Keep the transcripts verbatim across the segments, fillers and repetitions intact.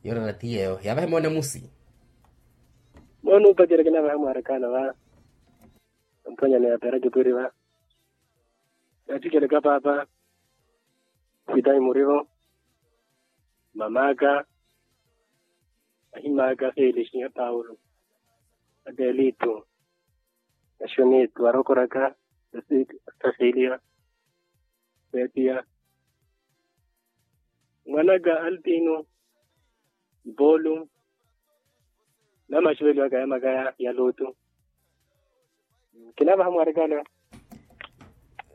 Yona na tiyeyo yavahe mone musi. Mone upacereke navahe mwarekana va. Mphwanya ni apera kipwiri va. Yathikeleka papa. Sitahi murivo. Mamaka. Ahimaka felisi ya paulo. Adelito. Axunitu arokoraka. Sasiliya. Setiya. Mwanaka altino. Ipolu. Namaxiveliwaka ya makaya ya lutu. Kinavaha mwarikale.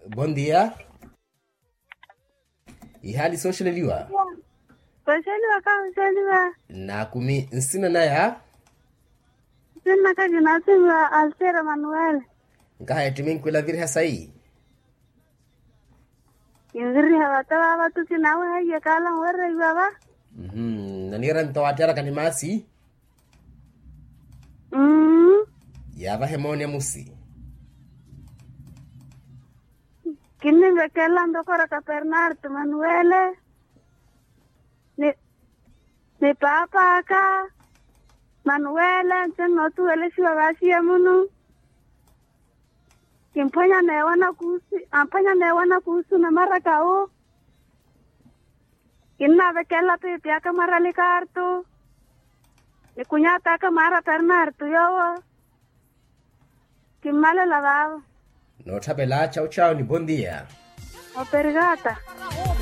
Bon dia. Ihali soxeleliwa. Soxeliwa kaxuxeliwa. Nakumi nsina naya. Nsina kakinasimiwa alsera manuel. Nkaha ettiminkwila viriha sayi. Kinviriha vata vava tuki nawe haiye kala nwerreiwa va. Nanira nto wateraka ni masi. Yavahe mone musi. Kinnivekela ndokoraka pernarto manuele. Ni paapa aka manuele nse nnootuwelesiwa vaxiya munu. Kimphwanya neewa nakuusu. Amphwanya neewa nakuusu na maraka wu. Kinnavekela piipi aka mwarali kartu. Ni kunyata aka mwaara pernarto yoowo. Kimmalela vaavo. Nootthapela chawu chawu ni bon dia. Operigata.